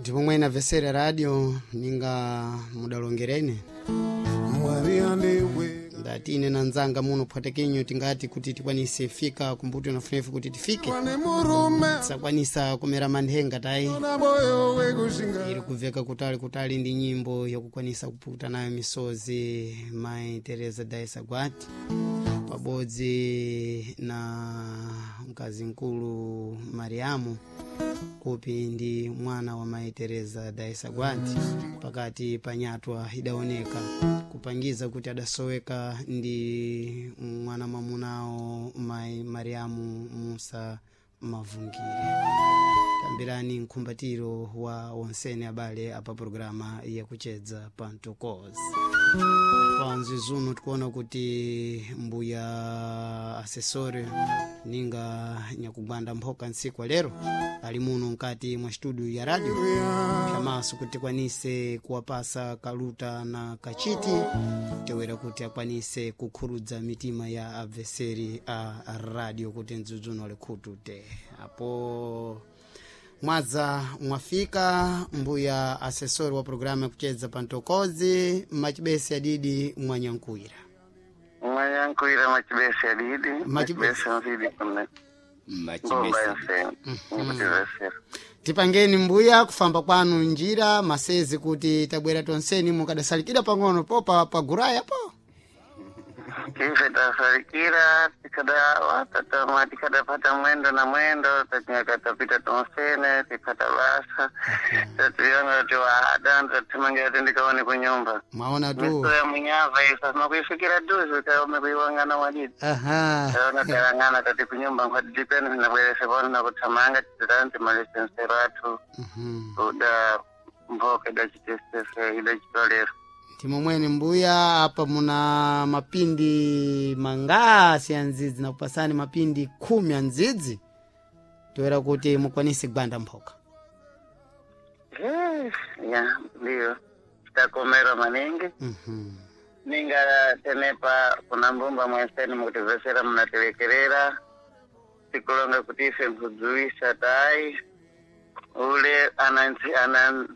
Ndipo mwene avesera radio ninga mudalongereni Mwari andiwe ndati ine na nzanga muno phwatekenyo tingati kuti tikwanise fika kumbuto nafunefu kuti tifike wane murume tisakwanisa kumera manthenga tayi na moyo wekushinga iri kubveka kutali kutali ndi nyimbo yakukwanisa kupukuta nayo misozi mai Teresa Daisa Gwati pabodzi na mkazi mkulu Mariamu kupi ndi mwana wa mai Teresa Daisa Gwati pakati pa nyatwa idaoneka kupangiza kuti adasoweka ndi mwana mwamunawo mai Mariamu Musa Mavungire. Tambirani mkhumbatiro wa onsene abale apa programa yakuchedza pa Mtokozi. Panzi zuno tikuona kuti mbuya asesore ninga nyakugwanda mphoka ntsiku lero ali muno mkati mwa studio ya radio pyamaso kuti tikwanise kuwapasa kaluta na kachiti tewera kuti akwanise kukhurudza mitima ya abveseri a radio kuti mdzudzuno ali khutu te apo mwadza mwafika mbuya asesori wa programu yakuchedza pa Mtokozi machibesi adidi mwanyankuira Mwanyankuira machibesi adidi Machibesi. machibesi nzidi kune ngomba machibesi yensene nikutivesera tipangeni mbuya kufamba kwanu njira masezi kuti tabwera tonseni mukadasalikira pang'ono popa paguraya po ife tasalikira tikada watatama tikadapata mwendo na mwendo tatinyaka tapita tonsene tipata basa tationa kuti waada tatimangira tindikaone kunyumba mwaona tu miso ya munyava isa makuifikira duzi kaome kuiwangana wadidi aha taona talangana tati kunyumba nkwatidipeni tinabwerese pano nakuthamanga titani timalise nsero athu Mhm. uda mboka idachitesese idachitolera ndimo mwene mbuya apa muna mapindi mangasi ya ndzidzi nakupasani mapindi 10 ya ndzidzi toera kuti mukwanise gwanda mphoka Eh, ya ndiyo takomerwa maningi Mhm. ninga tenepa kuna mbumba mwenseni mukutivesera munatilekerera tikulonga kuti ife nkudzuwisa tayi ule ana ana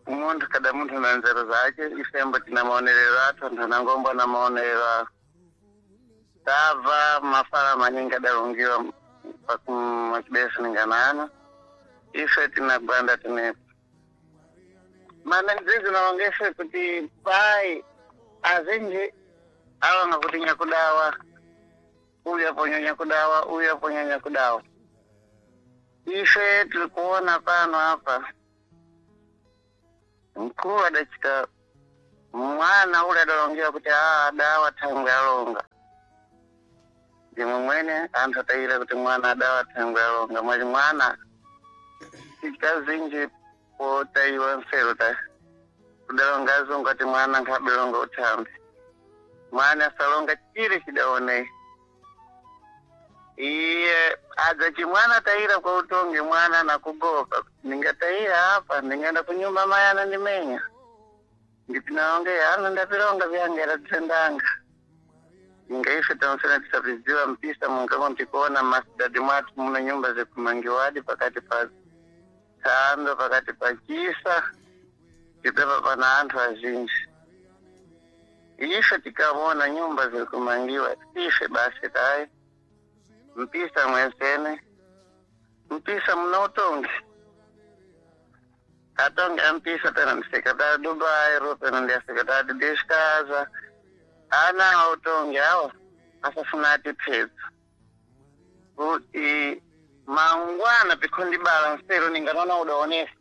munthu kada munthu na nzeru zace ifembo tina maonerero athu anthu anangombo na maonerero awo tabva mafala maningi adalungiwa pakumachibesi ninganana ife tinagwanda tinepa mana ndzizi nalongese kuti pai azinji alonga kuti nyakudawa uyu aponya nyakudawa uyu aponya nyakudawa ife tiri kuona pano apa mkulu adachita mwana ule adalongewa kuti aa adawa thangwe alonga ndimwe mwene anthu atayira kuti mwana adawa thangwe alonga mwali mwana tikazinji potayiwa mfero ta kudalonga azungu ati mwana nkhabilonga uthambi mwana asalonga chire chidaonei iye adza chimwana tayira kwa utongi mwana nakugopa ndingatayira apa ndingaenda kunyumba mai anandimenya ndipinaonge ana ndapilonga vyangera tisendanga ingaife tansena tisapiziwa mpisa munkamo ntikuona masidadi mwathu muno nyumba zikumangiwadi pakati pa thando pakati pa chisa tipepa pana anthu azinji ife tikavona nyumba zikumangiwa ife basi tayi mpisa mwensene mpisa muna utongi atongi ampisa pena ndi sekretari do bairro pena ndi a secretary de casa ana autongi awa asafuna atiphetsa kuti mangwana pikhondibala nsero ninganona udaonesa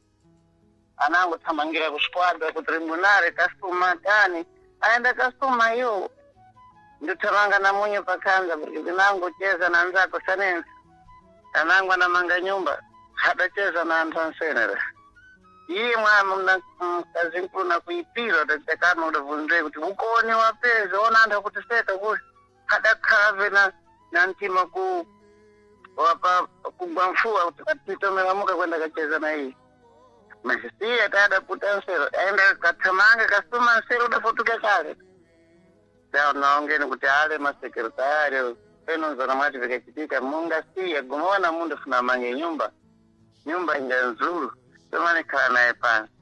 anango thamangira kusquadra ku tribunale kasuma tani aenda kasuma iyo ndithamanga na munyu pakhanza porque pinango cheza na nzako sanensa anango anamanga nyumba hadacheza na anthu ansenera iye mwana mkazi mkulu nakuipira utachakana udavunzwe kuti ukone wapeza ona anthu akutiseka kuti hadakhalave na na mtima ku wapa kugwa mfuwa kuti kwatitomelamuka kwenda kacheza na iye masiya tadaputa nsero aenda kathamanga kasuma nsero udafutuka kale naongeni kuti ale masekretari penonzona mwati vikachitika mungasiya gumaona mundu funa mange nyumba nyumba inga nzuru Somani khala naye pansi.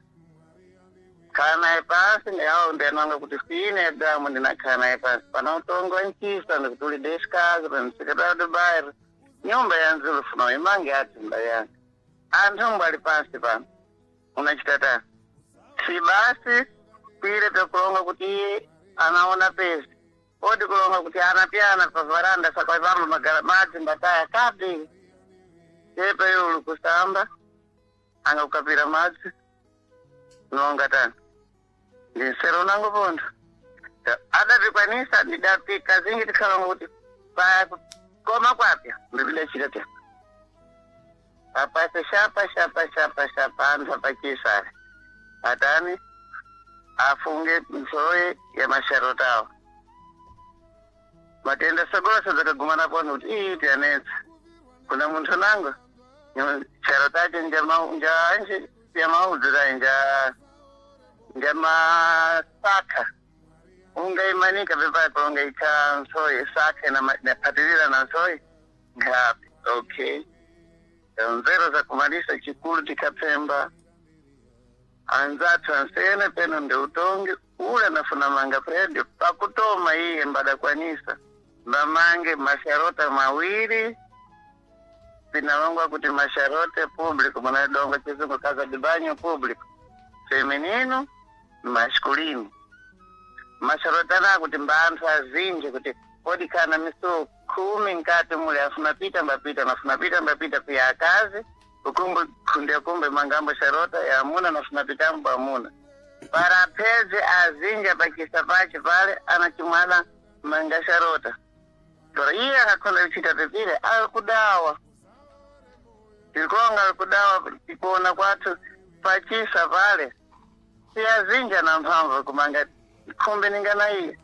Khala naye pansi ndiawo ndiananga kuti sine Adamu ndinakhala naye pansi. Pana utongo nchisa ndikuti uli desikazi pano sekretary de bairro. Nyumba ya nzulu funo imange ati mbayanga. Anthu mbali pansi pano. Unachita tani? Si basi pile pekulonga kuti iye anaona pesa. Odi kulonga kuti anapyana pa varanda sakaipamba magara madzi mbataya kapi. Tepe yulu kusamba anga kukapira madzi nonga tani. Ndinsero nango pondo. Adapikwanisa ndidapika zingi tikhalonga kuti pa koma kwapya ndipidachita tya. Apase shapa shapa shapa shapa anthu apachisale. Atani afunge msowe ya masharota awo. Matenda sogolo dzakagumana pano kuti iyi tianetsa. Kuna munthu nango charota acho njanje yamaudzira njamasaka. Ungaimanika pepapo ungaika nsoye saka napatirira na nsoye ngapi. Okay. Nzero za kumalisa chikulu tikapemba anzathu ansene peno ndi utongi ule anafuna manga predio pakutoma iye mbadakwanisa mbamange masharota mawiri pinalongwa kuti masharote público manadonga chizungu casa de banho público feminino masculino masharota ana kuti mbaanthu azinji kuti odikana misuwo 10 nkati mule afuna pita mbapita nafuna pita mbapita kuya akazi ukumbe kunde kumbe mangambo sharota ya amuna nafuna pitambo amuna para peze azinja pachisa pache pale anachimwana manga sharota tora iye akakhonda kuchita pepile alikudawa tilikonga alikudawa tikuona kwathu pachisa pale siyazinja na mphamvu kumanga khumbe ningana iye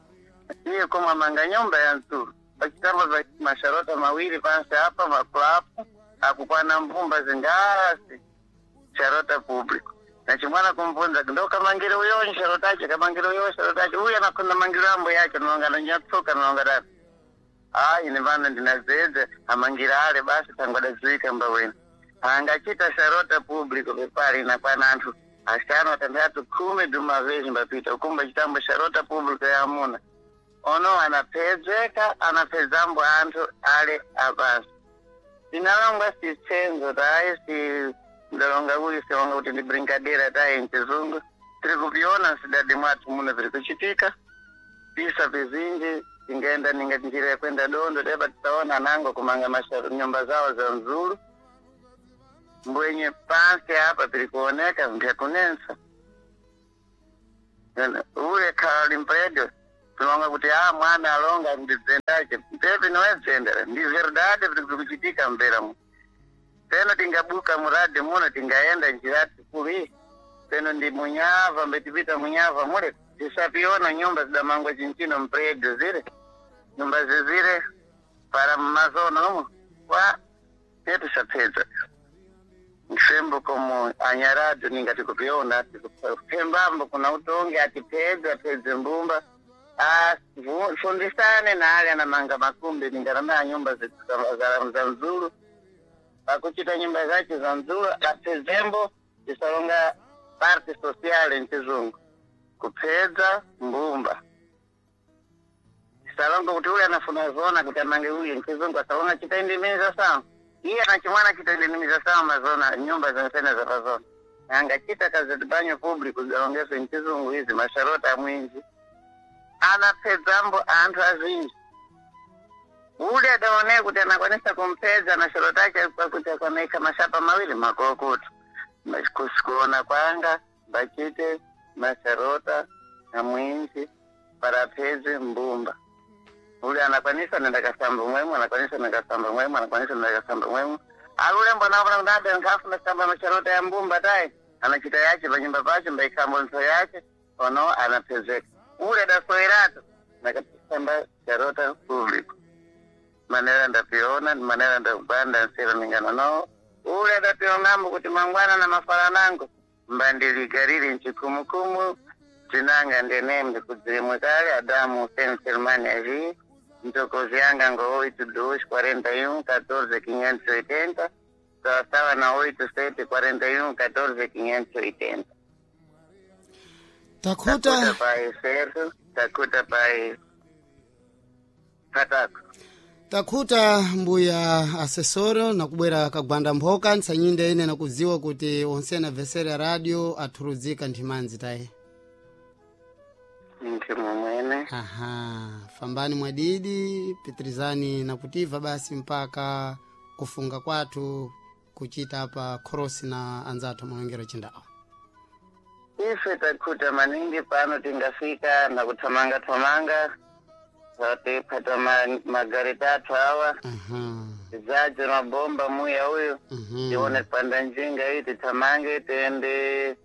iye komwe manga nyumba ya mtulu pachitamba pa masharota mawiri pansi apa makulapu akukwana mbumba zingasi sharota público nachimwana kumvunza ndo kamangire uyo sharotache kamangire uyo sharotache uyu anakhonda mangiro ambo yacho nonga nonyatsuka nonga tati ayi ine pano ndinazedza amangira ale basi tangwadadziwika mbawena angachita sharota público pepali inakwana anthu 5 6 10 dumavezi mbapita ukumba chitambo sharota público ya amuna ono anapedzeka anapedzambo anthu ale apasi ndinalongwa sitsenzo tayi si ndalonga kuyi siwonga kuti ndi brincadeira tayi mchizungu tiri kupiona sidadi mwathu muno piri kuchitika pisa pizinji tingaenda ninga njira yakwenda dondo tepa tisaona anango kumanga masharu nyumba zawo za mzulu mbwenye pansi apa piri kuoneka mbyakunensa ule khali mpredio tinonga kuti a mwana alonga ndidzendache mpepi niwedzendera ndi verdade piri kuchitika mbera mu peno tingabuka muradi muno tingaenda njira tikulu peno ndi munyava mbetipita munyava mule tisapiona nyumba zidamangwa chinchino mpredio zile nyumba zizile para mmazono umo wa tetisapedza msembo komo anyarado ningati kupiona pembambo kuna utongi atipedza apedze mbumba fundisane na ale anamanga makumbi ningarana nyumba za mzulu pakuchita nyumba zache za mzulu apedzembo tisalonga parte sociale mchizungu kupedza mbumba tisalonga kuti uyu anafuna zona kuti amange uyu mchizungu asalonga chitaindimiza sawa iye anachimwana chitaindimiza sawa mazona nyumba zansena za pazona angachita kazi banyo publico zalongeso mchizungu izi masharota amwinji anapedzambo anthu azinji ule adaonee kuti anakwanisa kumpedza na shorota ake pakuti akwanaika mashapa mawiri makokoto kusikuona kwanga bachite masharota amwinji parapedze mbumba ule anakwanisa nenda kasamba mwemwe anakwanisa nenda kasamba mwemwe anakwanisa nenda kasamba mwemwe alule mbona ndada nkhafu nasamba masharota ya mbumba tayi anachita yache panyumba pache mbaikambo ntho yache ono anapezeka ule adasoerato nakasamba sharota público manera ndapiona manera ndakugwanda nsero ningana no ule adapionambo kuti mangwana na mafalanango mbandiligarire nchikumukumu tinanga ndenembe kudzirimwe kale Adamu Hussein Selmani aji mtokozi yanga ngo 82 41 14 580. Sawasawa na 8 7 41 14 580. Takhuta. Takuta pai Sergio, takuta pai Patako. Takhuta mbuya asesoro nakubwera kagwanda mphoka ntsanyinde ine nakudziwa kuti onse anamvesera radio athurudzika nthimanzi taye. Ntimu mwene. Aha, fambani mwadidi pitirizani nakutiva basi mpaka kufunga kwathu kuchita apa khorosi na anzathu malongero chindawo. Ife takuta maningi pano tingafika na kuthamanga thamanga tatipata magari tatu awa. Aha. Tizaje mabomba muya uyu. Tione panda njinga hii tithamange tiende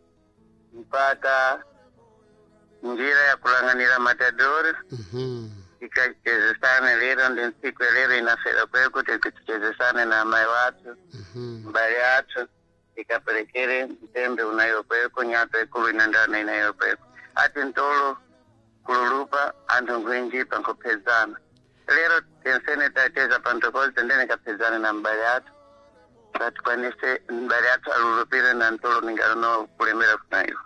mpaka njira ya kulanganira matadori. Tikachezesane lero ndi ntsiku ya lero inafera kweku tichezesane na amai wathu mbali athu tikaperekere mtembe unayo kweko nyato ikulu inandana inayo kweko ati ntolo kululupa anthu nkuinjipa nkuphezana lero tensene tateza pantokozi tendene kaphezane na mbali athu tatikwanise mbali athu alulupire na ntolo ningalono kulemera kunayo.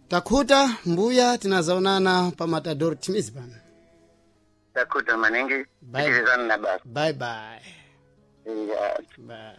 Takhuta mbuya, tinazaonana pa matador timizi pano. Takuta maningi. Bye. Tikirizana na basi. Bye bye. Yeah. Bye.